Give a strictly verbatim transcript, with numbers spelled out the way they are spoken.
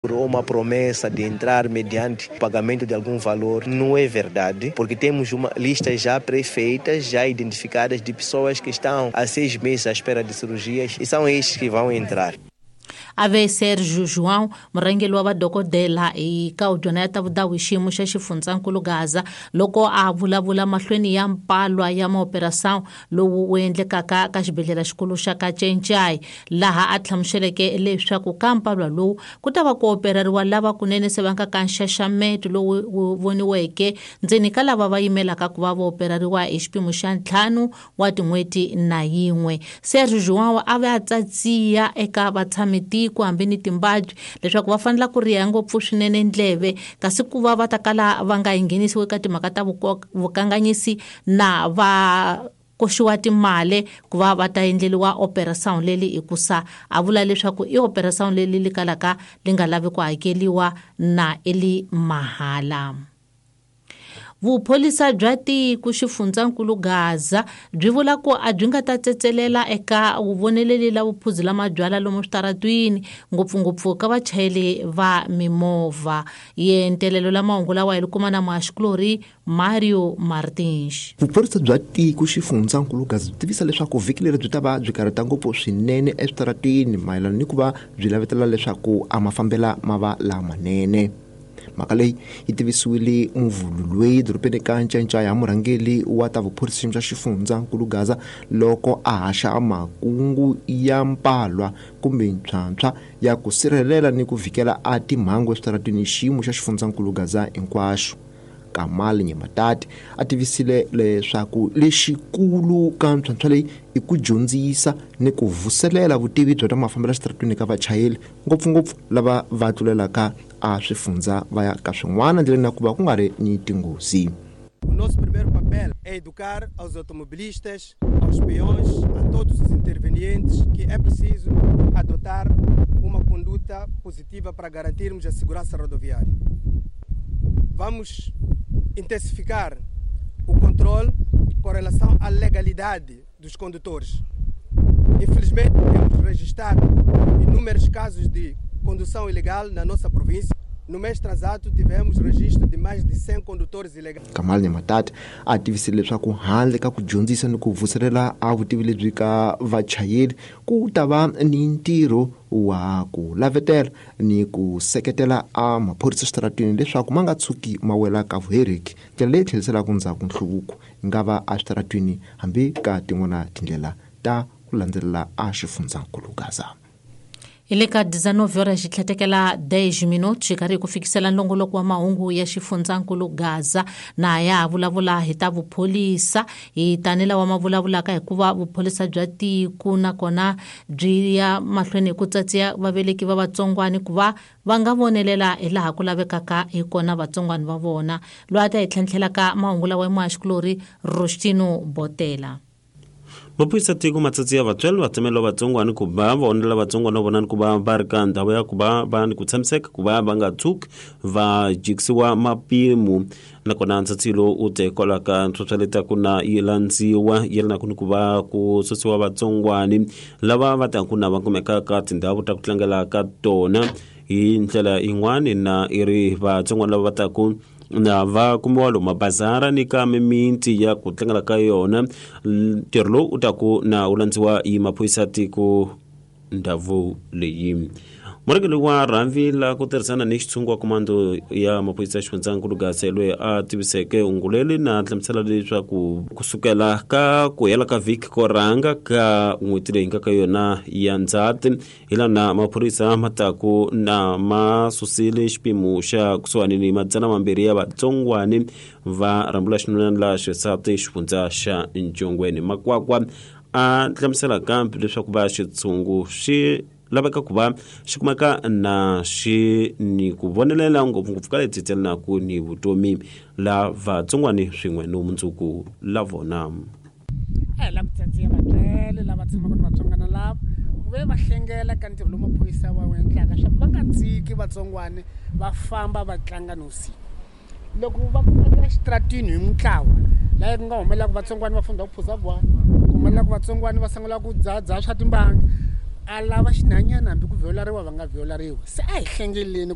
Ou uma promessa de entrar mediante pagamento de algum valor, não é verdade, porque temos uma lista já pré-feita, já identificadas de pessoas que estão há seis meses à espera de cirurgias e são estes que vão entrar. Ave Sergio João, murhangeri wa vadokodela hi ka dyona ya ta vudawu hi xiyimo xa xifundzankulu Gaza, loko a vulavula mahlweni ya mpalwa ya maoperação lowu wu endlekaka ka xibedhlele xikulu xa Kachenchay, laha a hlamuseleke leswaku ka mpalwa lowu ku ta va ku operariwa lava kunene se va nga ka nxaxameto lowu wu voniweke ndzeni ka lava va yimelaka ku va va operariwa hi xipimo xa ntlhanu wa tin'hweti na yin'we. Sergio João a va a tsatsiya eka vatshami ku hambi ni timbabyi leswaku va fanele ku riha ngopfu swinene ndleve, kasi ku va va ta kala va nga nghenisiwi eka timhaka ta vukanganyisi na va koxiwa timali ku va va ta endleriwa operation leli hikusa a vula leswaku i operation leli li kalaka li nga lavi ku hakeriwa na eli mahala. Vupholisa bya tiko xifundzankulu Gaza byi vula ku a byi nga ta tsetselela eka vuvoneleli la vuphuzi la mabyalwa lomu switaratwini, ngopfungopfu ka vachayeri va mimovha. Yentelelo la mahungu lawa hi kuma na muhaxikulori Mario Martins. Vupholisa bya tiko xifundzankulu Gaza byi tivisa leswaku vhiki leri byi ta va byi karhata ngopfu swinene eswitaratwini mayelana ni ku va byi lavetela leswaku a mafambela ma va lamanene. Mhaka leyi yi tivisiwile muvhulu dorobeni ka Ncancaya ya murhangeri wa ta vuphorisa bya xifundzankulu Gaza loko a haxa makungu ya mpalwa kumbe ntlhantlha ya ku sirhelela ni ku vhikela a timhangu eswitaratwini xiyimo xa xifundzankulu Gaza hinkwaxo. Kamal Nyematati a tivisile leswaku lexikulu ka ntlhantlha leyi i ku dyondzisa ni ku vuselela vutivi bya ta mafambelo eswitaratwini ka vachayeri, ngopfungopfu lava va tlulelaka a swifundza va ya ka swin'wana ndleleni na ku va ku nga ri ni tinghozi. O nosso primeiro papel é educar aos automobilistas, aos peões, a todos os intervenientes que é preciso adotar uma conduta positiva para garantirmos a segurança rodoviária. Vamos intensificar o controle com relação à legalidade dos condutores. Infelizmente, temos registrado inúmeros casos de condução ilegal na nossa província. No mês transato tivemos registro de mais de cem condutores ilegais. Kamal Nyematati a tivisile leswaku handle ka ku dyondzisa ni ku vuselela a vutivi lebyi ka vachayeri ku ta va ni ntirho wa ku lavetela ni ku seketela a maphorisa eswitaratwini leswaku ma nga tshuki ma wela ka vuheriki, ndlela leyi tlheriselaka ndzhaku nhluvuko yi nga va eswitaratwini hambi ka tin'wana tindlela ta ku landzelela a xifundzankulu Gaza. Hi le ka dezenove horas xi tlhetekela dez minutos xi karhi ku fikisela nongoloko wa mahungu ya xifundzankulu Gaza na ya ha vulavula hi ta vupholisa hi tani lawa ma vulavulaka hikuva vupholisa bya tiko nakona byi ya mahlweni hi ku tsatsiya vaveleki va vatsongwani ku va va nga vonelela hi laha ku lavekaka hi kona vatsongwani va vona. Loyi a ta hi tlhentlhelaka mahungu lawa i muhaxikulori Rostino Botela. Maphorisa tiko matsatsi ya vatswari va tsemela vatsongwana ku va va onela vatsongwana vona ni ku va va ri ka ndhawu ya ku va va ni ku tshamiseka ku va va nga tshuki va jikisiwa mapimo, nakona ntsatsi lowu u te kwalaho ka ntlhontlho leti ku na yi landziwa yelanaka ni ku va ku susiwa vatsongwani lava va taku na va kumeka ka tindhawu ta ku tlangela ka tona hi ndlela yin'wani na i ri vatsongwana lava va taku na va kumiwa lomu mabazara ni ka mimiti ya ku tlangela ka yona. Ntirho lowu u ta ku na wu landziwa hi maphorisa tiko ndhawu leyi. Murhangeri wa rhambi la ku tirhisana ni xitshungu wa komando ya maphorisa xifundzankulu Gaza loyi a tiviseke unguleli na hlamusela leswaku kusukela ka ku hela ka vhiki ko rhanga ka n'hweti leyi nga ka yona ya Ndzhati hi lana maphorisa ma taku na ma susile xipimo xa kusuhani ni madzana mambirhi ya vatsongwani va rhambula xinuna la xisati xifundza xa Ncongweni. Makwakwa a hlamusela kambe leswaku va xitshungu xi laveka ku va xi kumeka na xi ni ku vonelela ngopfungopfu ka leti tselanaka ni vutomi la vatsongwani swin'we no mundzuku la vona. A hi lava ku tsatsiya vatswele lava tshamaka ni vatsongwana lava ku ve va hlengela ka ntirho lowu maphorisa va wu endlaka swa ku va nga tshiki vatsongwani va famba va tlanga nivusiku. Loko va kumeka exitaratini hi mintlawa laha ku nga humelelaka vatsongwani va funda ku phuza gwala, ku humelelaka vatsongwani va sungula ku dzahadzaha swa timbanga, a lava xinhanyana hambi ku violariwa va nga violariwi. Se a hi hlengeleni